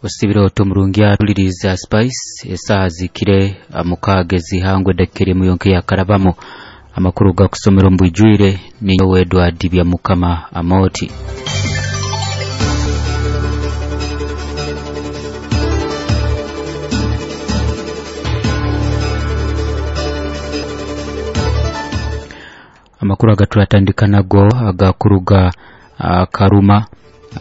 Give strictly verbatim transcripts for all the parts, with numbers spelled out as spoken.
Osibire oto omurungi atuliriza Spice. Esaaha zikire mukaaga ezihangwe edakika emu yonka yakarabamu. Amakuru gakusomera omu bwijwire ninyowe Edward Byamukama Amoti. Amakuru agaturatandika nago agakuruga uh, Karuma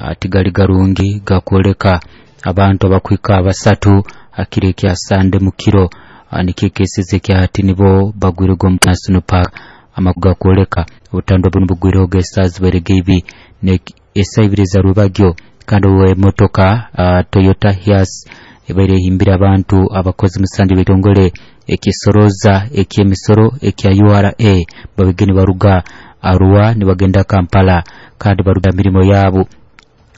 uh, tigali garungi, gakwoleka abantu abakwika basatu akiro ekya Sande mukiro uh, nikyo ekeseze ekyahati nibo bagwirego omu National Park. Amakuru gakwoleka obutandwa bunu bugwireho gesaaha zibaire ibi esaa ibiri eza rwebagyo, kandi emotoka uh, Toyota Hiace ebaire ehimbire abantu abakozi musanju b'ekitongole ekisoroza eky'emisoro ekya U R A, babige nibaruga Arua nibagenda Kampala kandi baruga mirimo yabo.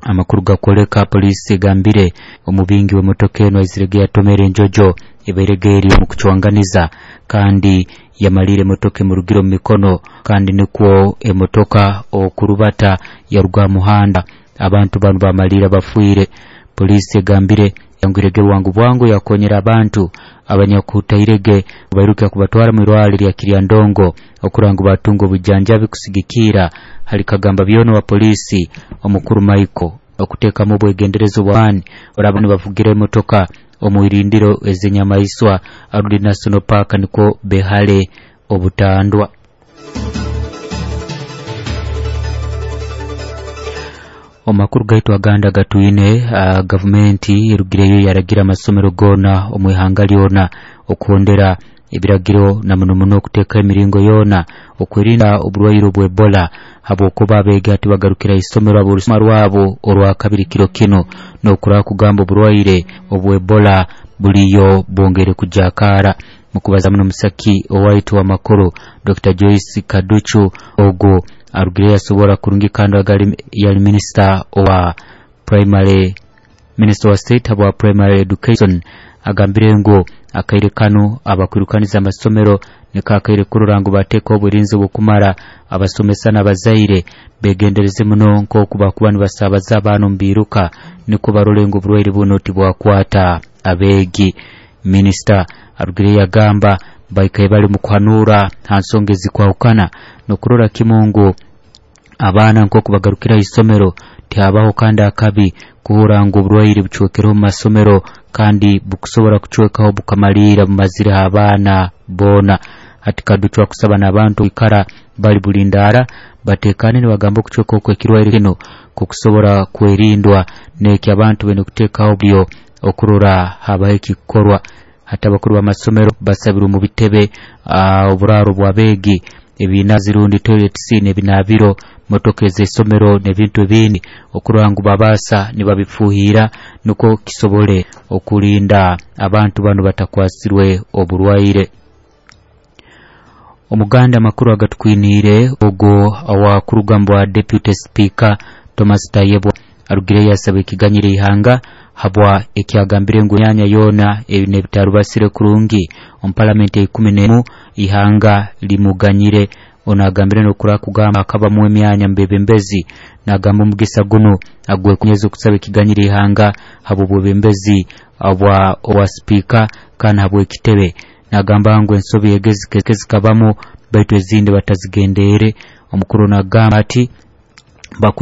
Amakuru gakwoleka poliisi egambire omubingi w'emotoka eno aizirege yatomera enjojo ebairege eri omu kucwanganiza, kandi yamalire emotoka emurugire omu mikono, kandi nikwo emotoka okurubata yaruga muhanda, abantu banu bamalira bafiire. Poliisi egambire yangwirege bwangu bwangu yakonyera abantu abanyakutairege bairukira kubatwara mu irwaliro lya Kiryandongo okurora ngu batunga obujanjabi. Kusigikira hali kagamba byona wa poliisi omukuru Michael, okuteekamu obwegenderezo bw'amaani oraba nibavugira emotoka omu irindiro ez'enyamaiswa arundi National Park, nikwo behale obutandwa. Omu makuru gaitu agandi agatwine, uh, gavumenti erugireyo yaragira amasomero goona omu ihanga lyona okuhondera ebiragiro, na muno muno okuteeka emiringo yoona okwerinda oburwaire obwa Ebola, habwokuba abeegi hati bagarukira isomero aborusoma rwabo orwakabiri kiro kinu, n'okuraba kugamba oburwaire obwa Ebola buliyo bwongere kujakara. Mukubaza muno musaki owaitu w'amakuru Doctor Joyce Kaducu, ogwo arugireyo yasobora kurungi, kandi agali yali minisita owa primary, minister wa state habwa primary education, agambire ngu akaire kanu abakwirukaniza amasomero niko akaire kurora ngu bateeka oburinzi obukumara, abasomesa n'abazaire begendereze muno nk'oku bakuba nibasabaza abaana omu biiruka, nikwo barole ngu oburwaire buno tibwakwata abeegi. Minisita arugireyo yagamba baikaire bali mu kuhanura ha nsonga ezikwahukana n'okurora kimu ngu abaana nk'oku bagarukira isomero tihabaho kandi akabi kuhura ngu oburwaire bucwekereho omu masomero, kandi bukusobora kucwekaho bukamaliira bumazireho abaana boona. Hati Kaducu akusaba n'abantu kwikara bali bulindaara batekane, nibagamba okucweka okw'ekirwaire kino kukusobora kwerindwa, n'eki abantu baine kuteekaho byo okurora habaho ekikukorwa. Hati abakuru b'amasomero basabirwe mu bitebe, uh, oburaaro bw'abeegi, ebinazi rundi toilets n'ebinaabiro, motoka ez'isomero n'ebintu ebindi, okurora ngu babaasa nibabifuuhira nukwo kisobole okurinda abantu banu batakwasirwe oburwaire. Omuganda amakuru agatukwiniire, ogwo owakuruga mu bwa deputy speaker Thomas Tayebwa arugireyo yasaba ekiganyiro ihanga habwa ekyagambire ngu emyanya yoona nebitarubasire kurungi omu palamenti eikumi n'emu ihanga limuganyire. Ono agambire n'okura kugamba akabamu emyanya mubebembezi, nagamba omugisa guno agwekunyeza okusaba ekiganyiro ihanga habw'obwebembezi obwa obwa sipiika kandi habw'ekitebe. Nagamba ngu ensobi ege zikabamu, baitu ezindi batazigendeere. Omukuru nagamba ati bakwe